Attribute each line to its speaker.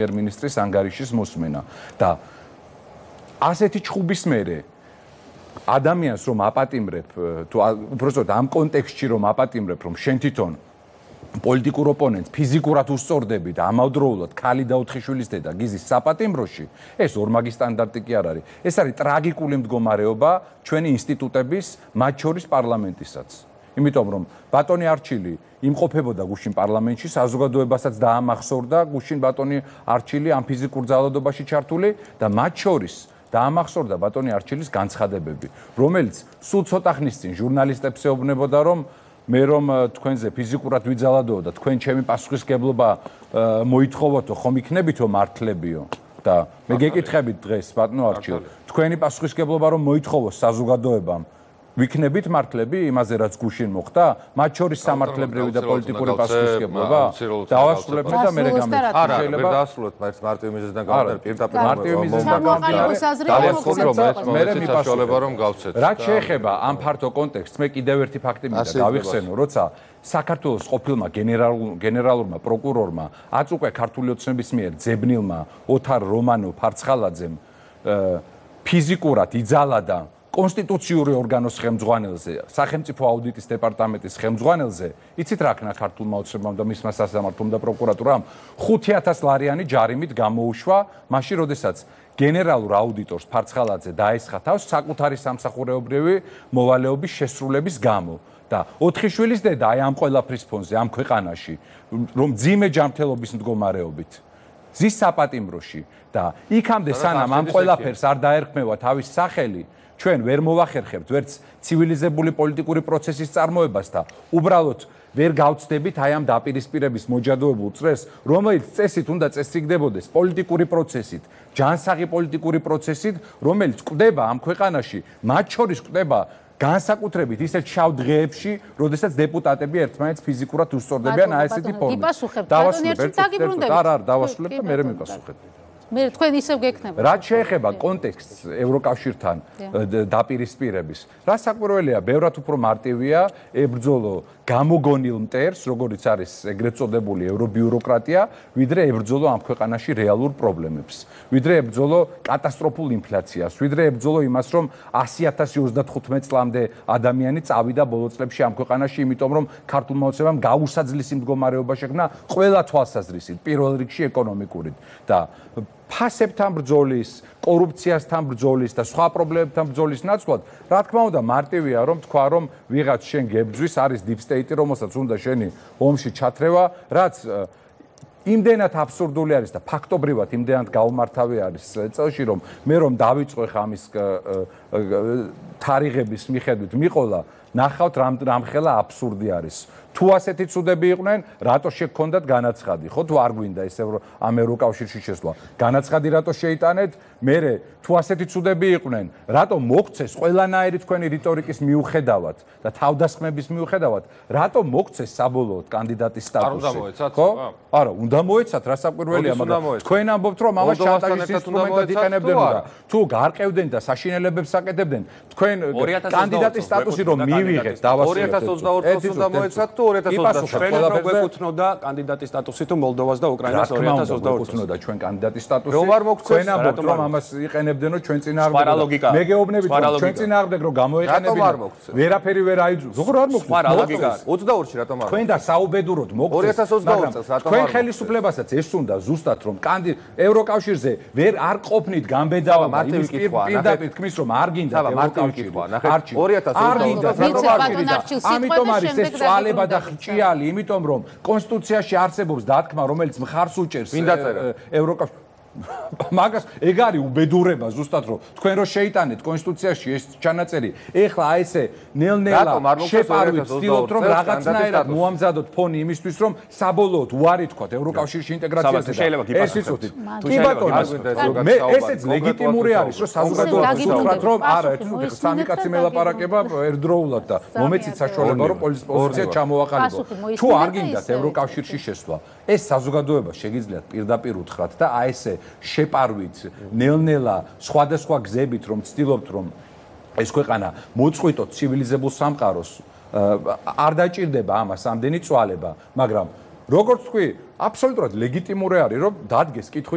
Speaker 1: პრემიერ-მინისტრის ანგარიშის მოსმენა და ასეთი ჩხუბის მერე ადამიანს რომ აპატიმრებ თუ უბრალოდ ამ კონტექსტში რომ აპატიმრებ რომ შენ თვითონ პოლიტიკურ ოპონენტს ფიზიკურად უსწორდები და ამავდროულად ქალი და 4 შვილის დედა გიზის საპატიმროში ეს ორმაგი სტანდარტი კი არ არის ეს არის ტრაგიკული მდგომარეობა ჩვენი ინსტიტუტების მათ შორის პარლამენტისაც იმიტომ რომ ბატონი არჩილი იმყოფებოდა გუშინ პარლამენტში საზოგადოებასაც დაამახსოვრდა გუშინ ბატონი არჩილი ამ ფიზიკურ ძალადობაში ჩართული და მათ შორის დაამახსოვრდა ბატონი არჩილის განცხადებები რომელიც სულ ცოტა ხნის წინ ჟურნალისტებს ეუბნებოდა რომ მე რომ თქვენზე ფიზიკურად ვიძალადო და თქვენ ჩემი პასუხისგებლობა მოითხოვოთო ხომ იქნებითო მართლებიო და მე გეკითხებით დღეს ბატონო არჩილ თქვენი პასუხისგებლობა რომ მოითხოვოს საზოგადოებამ ვიქნებით მართლები იმაზე რაც გუშინ მოხდა მათ შორის სამართლებრივი და პოლიტიკური პასუხისგებლობა დავასრულებ და მე გამეცი
Speaker 2: შეიძლება დაასრულოთ მარტივი მიზეზიდან გამომდინარე პირდაპირ
Speaker 1: მარტივი მიზეზიდან გამომდინარე მე მიპასუხებ
Speaker 2: რომ გავცეთ
Speaker 1: რაც შეეხება ამ ფართო კონტექსტს მე კიდევ ერთი ფაქტი მინდა გავიხსენო როცა საქართველოს ყოფილმა გენერალურმა პროკურორმა აწუყა ქართული ოცნების მიერ ძებნილმა ოთარ რომანო ფარცხალაძემ ფიზიკურად იძალადა კონსტიტუციური ორგანოს ხელმძღვანელზე, სახელმწიფო აუდიტის დეპარტამენტის ხელმძღვანელზე, იცით რა ქნა ქართულმა ოცნებამ და მისმა სასამართლომ და პროკურატურამ 5,000 ლარიანი ჯარიმით გამოუშვა, მაშინ როდესაც გენერალურ აუდიტორს ფარცხალაძე დაესხა თავს საკუთარი სამსახურეობრივი მოვალეობის შესრულების გამო და 4 შვილის დედა აი ამ ყველაფრის ფონზე ამ ქვეყანაში, რომ ძიმე ჯანმრთელობის მდგომარეობით ზის საპატიმროში და იქამდე სანამ ამ ყველაფერს არ დაერქმევა თავის სახელი ჩვენ ვერ მოვახერხებთ ვერც ცივილიზებული პოლიტიკური პროცესის წარმოებას და უბრალოდ ვერ გავცდებით აი ამ დაპირისპირების მოჯადოებულ წრეს, რომელიც წესით უნდა წესრიგდებოდეს პოლიტიკური პროცესით, ჯანსაღი პოლიტიკური პროცესით, რომელიც კვდება ამ ქვეყანაში, მათ შორის კვდება განსაკუთრებით ისეთ შავ დღეებში, როდესაც დეპუტატები ერთმანეთს ფიზიკურად უსწორდებიან აი ესეთი ფორმით. დავასრულებ და მე მიპასუხებ.
Speaker 3: მე თქვენ ისევ გეკნებათ.
Speaker 1: რაც შეეხება კონტექსტს ევროკავშირთან დაპირისპირების, რა საკვირველია, ბევრად უფრო მარტივია ებრძოლო გამოგონილ მტერს, როგორიც არის ეგრეთ წოდებული ევრობიუროკრატია, ვიდრე ებრძოლო ამ ქვეყანაში რეალურ პრობლემებს. ვიდრე ებრძოლო კატასტროფულ ინფლაციას, ვიდრე ებრძოლო იმას, რომ 100,035 წლამდე ადამიანი წავიდა ბოლო წლებში ამ ქვეყანაში, იმიტომ რომ ქართულმა ოცნებამ გაუსაძლისი მდგომარეობა შექმნა ყველა თვალსაზრისით, პირველ რიგში ეკონომიკურით და ფასებთან ბრძოლის, კორუფციასთან ბრძოლის და სხვა პრობლემებთან ბრძოლის ნაცვლად, რა თქმა უნდა, მარტივია რომ თქვა, რომ ვიღაც შენ გებძვის, არის deep state, რომელსაც უნდა შენი ომში ჩათრევა, რაც იმდენად აბსურდული არის და ფაქტობრივად იმდენად გაუმართავი არის წელში, რომ მე რომ დავიწყო ხა ამის თარიღების მიხედვით მიყოლა, ნახავთ რამხელა აბსურდი არის. თუ ასეთი ცუდები იყვნენ, რატო შეგქონდათ განაცხადი? ხო თუ არ გვინდა ეს ამ ევროკავშირში შესვლა? განაცხადი რატო შეიტანეთ? მერე თუ ასეთი ცუდები იყვნენ, რატო მოგცეს ყველანაირი თქვენი რიტორიკის მიუხედავად და თავდასხმების მიუხედავად, რატო მოგცეს საბოლოოდ კანდიდატის სტატუსი?
Speaker 2: ხო?
Speaker 1: არა, უნდა მოეცათ, რა საკვირველია, მაგრამ თქვენ ამბობთ, რომ ამას შანტაჟის ინსტრუმენტად იყენებდნენ და თუ გარყევდნენ და საშინელებებს აკეთებდნენ, თქვენ კანდიდატის სტატუსი რომ მივიღეთ, დავასრულეთ.
Speaker 4: 2022 წელს უნდა მოეცათ თუ 2023 ჩვენ გვეკუთვნოდა კანდიდატის სტატუსი თუ მოლდოვას და უკრაინას 2022 წელს
Speaker 1: გვეკუთვნოდა ჩვენ კანდიდატის სტატუსი.
Speaker 4: რომ არ მოგცეს,
Speaker 1: თქვენ ამბობთ, რომ ამას იყენებდნენ, რომ ჩვენ წინააღმდეგ. მე გეუბნებით, რომ ჩვენ წინააღმდეგ რომ გამოიყენებინათ. ვერაფერი ვერ აიძულეს. როგორ არ მოგცეს?
Speaker 4: 22-ში რატომ არ?
Speaker 1: თქვენ და საუბედუროდ მოგცეს.
Speaker 4: 2022 წელს რატომ არ?
Speaker 1: თქვენ ხელისუფლებასაც ეს უნდა ზუსტად რომ ევროკავშირზე ვერ არ ყოფნით გამბედავა იმის პირდაპირ თქმის რომ არ გინდა ევროკავშირი.
Speaker 4: არჩი 2022
Speaker 1: წელს ამიტომ არის ეს წვალება და ჭიალი, იმიტომ რომ კონსტიტუციაში არსებობს დათქმა, რომელიც მხარს უჭერს ევროკავშირს. მაგას ეგ არის უბედურება ზუსტად რომ თქვენ რო შეიტანეთ კონსტიტუციაში ეს ჩანაწერი ეხლა აი ესე ნელ-ნელა შეპარვით ვცდილობთ რომ რაღაცნაირად მოამზადოთ ფონი იმისთვის რომ საბოლოოდ უარი თქვათ ევროკავშირში ინტეგრაციაზე და ეს იცოდით კი ბატონო მე ესეც ლეგიტიმური არის რომ საზოგადოებას უთხრათ რომ არა ეს სამი კაცი მელაპარაკება ერთდროულად და მომეცით საშუალება რომ პოზიცია ჩამოაყალიბო თუ არ გინდათ ევროკავშირში შესვლა ეს საზოგადოება შეგიძლიათ პირდაპირ უთხრათ და აი ესე შეპარვით ნელ-ნელა სხვადასხვა გზებით რომ ვცდილობთ რომ ეს ქვეყანა მოწყვიტოთ ცივილიზებულ სამყაროს არ დაჭირდება ამას ამდენი წვალება მაგრამ როგორც თქვი აბსოლუტურად ლეგიტიმური არის რომ დადგეს კითხვის